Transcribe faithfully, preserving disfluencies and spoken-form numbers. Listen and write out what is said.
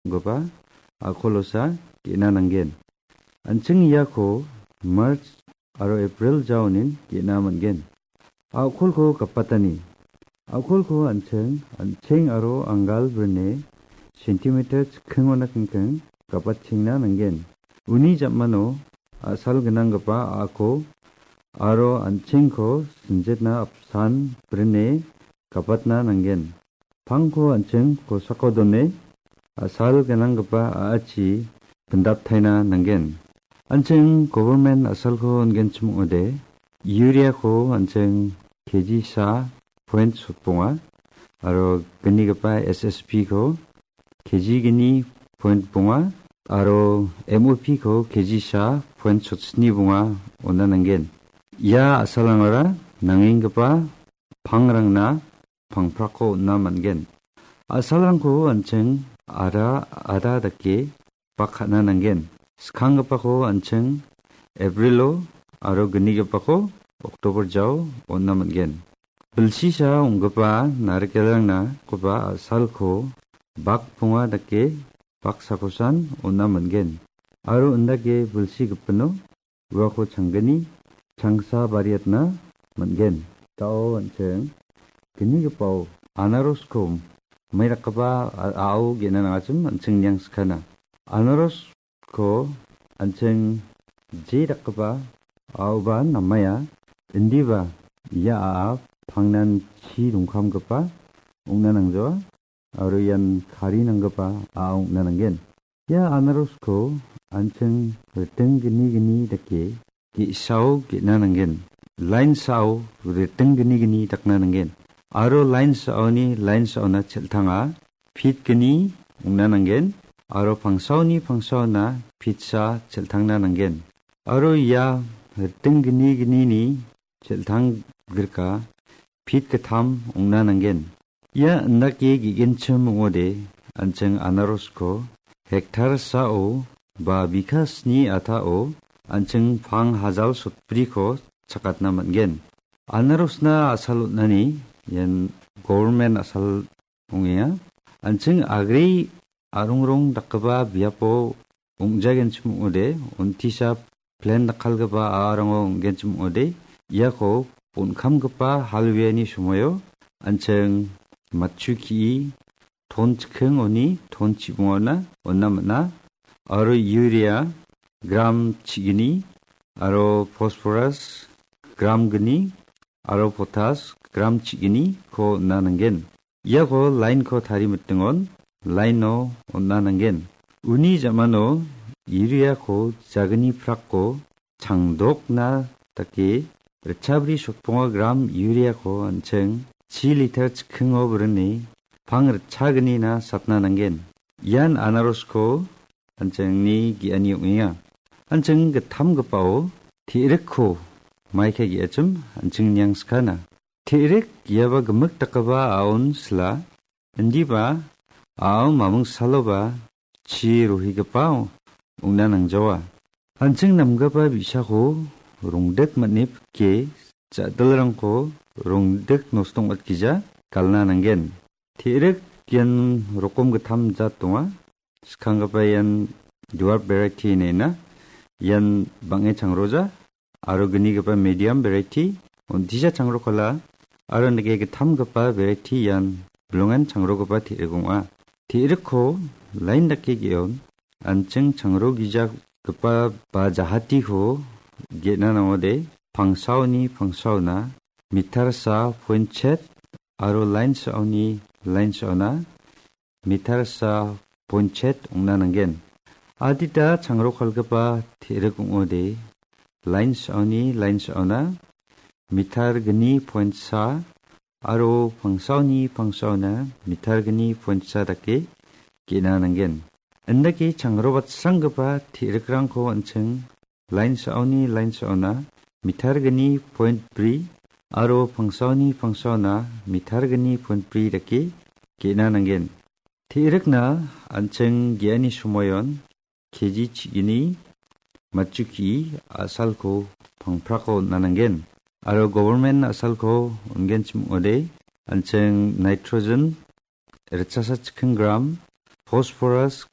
ong·gipa a·kolosa ge·na nanggen. An·ching iako March aro April jaonin ge·na man·gen. A·kolko gapatani. A·kolko an·ching, an·ching aro anggal brine centimeter chikkingona kingking gapatchengna nanggen. Uni jamano a·sal gnanggipa a·ako aro an·chingko sinjetna apsan brine gapatna nanggen. Pangko an·ching kosako done a·sal gnanggipa a·achi pindaptaina nanggen. An·ching government a·salko on·genchim ong·ode, urea-ko an·ching K G sa point sotbonga, aro gnigipa S S P-ko K G gni point bonga, aro M O P-ko K G sa point sotsni bonga on·na nanggen. Ia a·salrangara nangenggipa pangrangna pangprako on·na man·gen. A·salrangko an·ching ada, ada dake bak ka·na nanggen. Skanggipako an·ching Aprilo aro gnigipako Oktober jao on·na man·gen. Bilsisa ong·gipa narikelrangna koba a·salko bak ponga dake baksakosan on·na man·gen. Aro indake bilsi gipino uako changgni changsa bariatna man·gen. Da·o an·ching gnigipao anarosko maidakgipa a-, a·ao ge·na nangachim an·ching niang skana. Anarosko an·ching je dakgipa a·aoba namaia, indiba ia a·a pangnan chi dongkamgipa ong·na nangjawa. Aro ian kari nanggipa a·a ong·na nanggen. Ia anarosko an·ching riting gni gni dake ge·sao ge·na nanggen. Lain sao riting gni gni dakna nanggen. Aro lain saoni lain saona cheltanga pit gni ong·na nanggen. Aro pangsaoni pangsaona pitsa cheltangna nanggen. Aro ia riting gni gnini cheltang grika pit gittam ong·na nanggen. Ia indake ge·genchim ong·ode, an·ching anarosko hektar sao ba bikha sni atao an·ching pang hajal sotbriko chakatna man·gen. Anarosna a·sal on·ani ian government a·sal ong·enga. An·ching agri a·rongrong dakgipa biapo ong·jagenchim ong·ode, on·tisa plen dakkalgipa a·arango ong·genchim ong·ode, iako bonkamgipa hal weani somoio an·ching matchu ki·i ton chikking oni ton chibongona on·na man·a, aro urea gram chigni, aro phosphorus gram gni, aro potas gram chigniko on·na nanggen. Iako lainko tarimitingon laino on·na nanggen. Uni ja·mano ureako jagni prako changdokna dake ritchabri sotbonga gram ureako an·ching chi liter chikkingo brini pang ritchagnina satna nanggen. Ian anarosko an·chingni ge·ani ong·enga. An·ching gittamgipao te·rikko maika ge·achim an·ching niang skana. Te·rik iaba gimik dakgipa a·on sila, indiba a·ao maming saloba chi rohigipao ong·na nangjawa. An·ching namgipa bi·sako rongdik man·e pike, ja·dilrangko rongdik nostong watgija galna nanggen. Te·rik ian rokom gittam jat donga. Skanggipa ian dwarf variety ine ina. Ian bang·e changroja aro gnigipa medium variety, on·tisa changrokala aro nike gittamgipa variety ian bilongen changrogipa te·rik ong·a. Te·rikko lain dake ge·on, an·ching changro gijagipa ba jahatiko ge·na nangode, pangsaoni pangsaona meter sa point chet aro lain saoni lain saona meter sa point chet ong·na nanggen. Adita changro kalgipa te·rik ong·ode, lain saoni lain saona meter gni point sa aro pangsaoni pangsaona meter gni point sa dake ge·na nanggen. Indake changro batsranggipa te·rikrangko an·ching lain saoni lain saona meter gni point bri aro pangsaoni pangsaona meter gni point bri dake ge·na nanggen. Te·rikna an·ching ge·ani somoion K G chigni matchuki a·salko pangprako on·na nanggen. Aro government a·salko on·genchim ong·ode, an·ching nitrogen ritchasa chikking gram, phosphorus